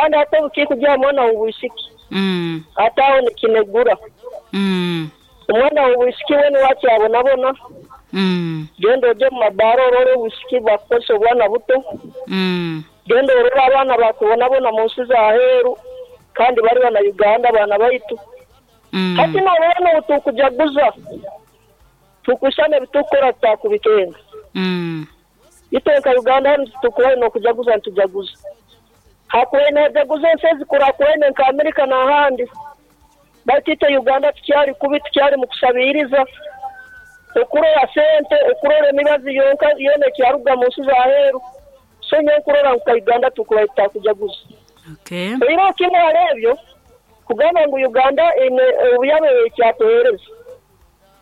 Kandi ate obukikugya aha mwana w'obwisiki, ate aho nikinegura. Omwana w'obwisiki weena owakyabonabona, genda ogye omu mabaara orole obwisiki bakukozesa obwana buto, genda orole abaana bakubonabona mu nsi z'aheeru kandi bali bana Uganda baana baitu. Hati norora n'obu tukujaguza, tukwisana ebi tukukora tutakubikenga. Itwe nka Uganda hanu titukubaire n'okujaguza nitujaguza. Hakubaire nihajaguza ensi ezikurakurene nka Amerika n'ahandi. Baitu itwe Uganda tukyali kubi, tukyali mu kusabiiriza. Okurora sente, okurora emibazi yonka yoona ekyaruga mu nsi z'aheeru. So nyowe nkurora ngu nka Uganda tukubaire tutakujaguza. Oihireho kimu hali ebyo, kugamba ngu Uganda eine obuyabe ekyatuheereza.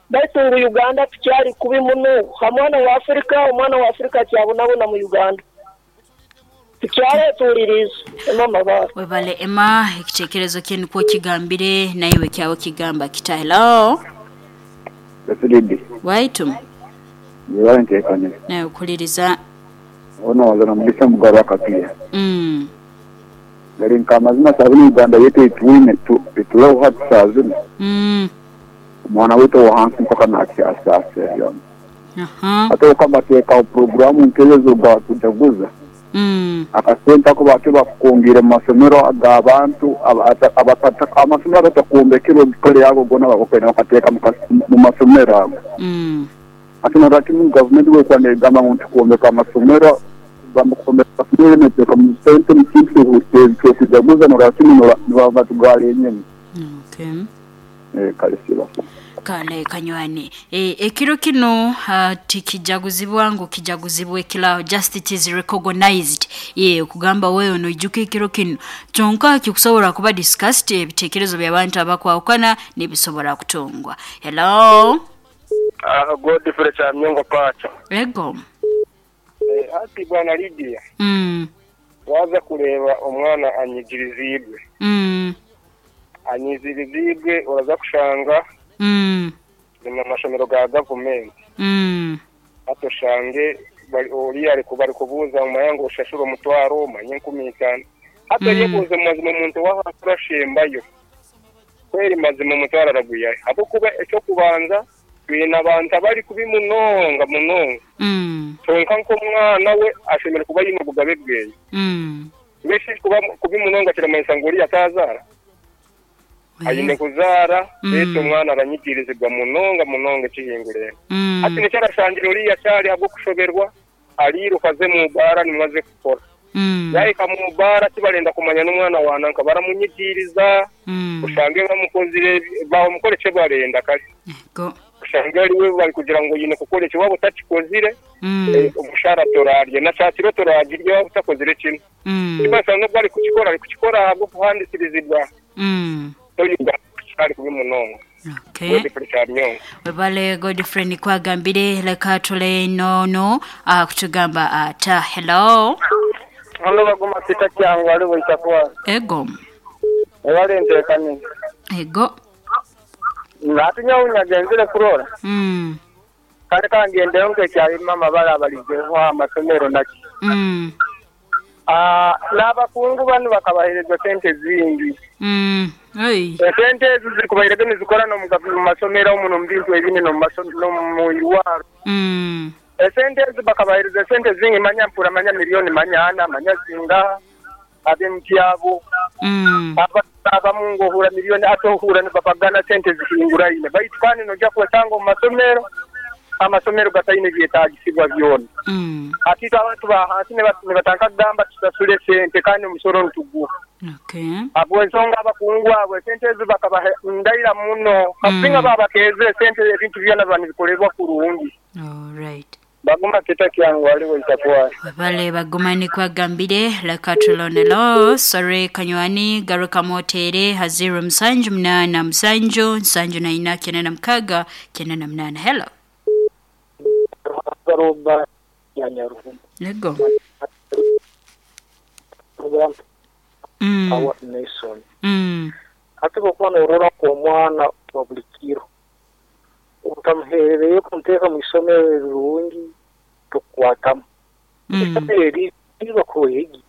Baitu ngu Uganda tukyali kubi muno ha mwana wa Afrika, omwana wa Afrika akyabonabona mu Uganda. Tukyaletuuliriize. Emma Mabara. Webale Emma, ekitekerezo kye nikwo kigambire, naiwe kyawe kigamba kita? Hello. Yes Lady. Waitu. Webale ntekanize. Nawe kuliriza. Ono waza na Mugisha Mugaru Akapiya. Gari nka amazima saa zinu Uganda yaitu eitwine eturoho hati saa zinu. Omwana waitu owahansi mpaka nakyasaasira byona. Hati obu bateekaho puroguraamu nk'ezo ez'okujaguza, akasente ako bakyo bakukongiire mu masomero ag'abantu amasomero agatakwombekerwe kare ago goona bakwenda bakateeka mu masomero ago. Hati norora kimu gavumenti bwekuba negamba ngu ntukwombeka amasomero, kugamba kwombeka amasomero neteeka mu sente mu kintu ky'okujaguza norora kimu nibaba batugara enyuma. Kale siba. Kale kanywani. Ekiro kino tikijaguzibwa ngu kijaguzibwe kila, just it is recognized. Ye kugamba wewe noijuka ekiro kino. Kyonka kikusobola kuba discussed, ebitekerezo by'abantu abakwawukana nibisobola kutungwa. Hello. Godfrey Kyamyongo Pacho. Ego. Hati bwana Lydia. Waza kureeba omwana anyigirizibwe. Anyigirizibwe oraza kushanga ni mu mashomero ga gavumenti. Hati oshange oriya bari kubuuza omanya ngu oshashure omutwaro omanye 5000. Hati oyebuuze mu mazima omuntu w'ahansi orashembayo. Kweri mazima omutwaro aragwihayo. Ahabw'okuba eky'okubanza twine abantu abari kubi munonga munonga. Kyonka nk'omwana we ashemereire kuba aine obugabe bweye. Mbwenu shi kuba kubi munonga kiramanyisa ngu oriya atazaara? Aine kuzaara, beitu omwana aranyigirizibwa munonga munonga ekihingurene. Hati nikyo arashangire oriya akyari ahabw'okushoberwa, ariiruka aze mu baara nimwo aze kukora. Yahika mu baara tibarenda kumanya n'omwana wa nanka baramunyigiriza, oshange bamukozire bamukora eki barenda kare. Oshange ariwe bari kugira ngu oine kukora eki waaba otakikozire, omushara torarye na kyakiro toragirya waaba otakozire kinu. Kimanyisa n'obu ari kukikora ari kukikora ahabw'okuhandisirizibwa. So Uganda tukyari kubi munonga. Godfrey Kyamyongo. Webale Godfrey nikwagambire leka tule nono kutugamba ata. Hello. Hano baguma Peter Kyangu ali bwita. Ego. Webale ntekani. Ego. Ati nyawe genzire kurora. Kale kangendeyo nkekyali mama bala abalizeho amasomero naki. N'abakungu banu bakabahereza sente zingi. Esente ezo zikubairege nizikora n'omu masomero omu n'omu bintu ebindi n'omu irwaro. Esente ezo bakabahereza sente zingi manya mpura manya milioni manya ana manya zinga ab'emtyabo. Abamu ngohura milioni ate ohura nibapagana sente zihinguraine. Baitu kandi nojja kwesanga omu masomero amasomero gataine byetaagisibwa byona. Ati abantu ba hansi nibatanka kugamba tusasule sente kandi omusoro nituguha. Habw'ensonga abakungu abo esente ezo bakabaha ndaira muno. Kasinga babakeeze esente ebintu byona biba nibikorerwa kurungi. Baguma Peter Kyangu aliwo itakuwa. Webale baguma nikwagambire leka tulonelo sorry kanywani garuka motere ha 0 7 8 7 7 9 6 9 8. Hello. Garuba ya Nyaruhuma. Lego. Awa Nelson. Ate bwokuba norora omwana wa buli kiro otamuheerereye kumuteeka mu isomero erirungi tokukwatamu. Isomero eri ribakuha egi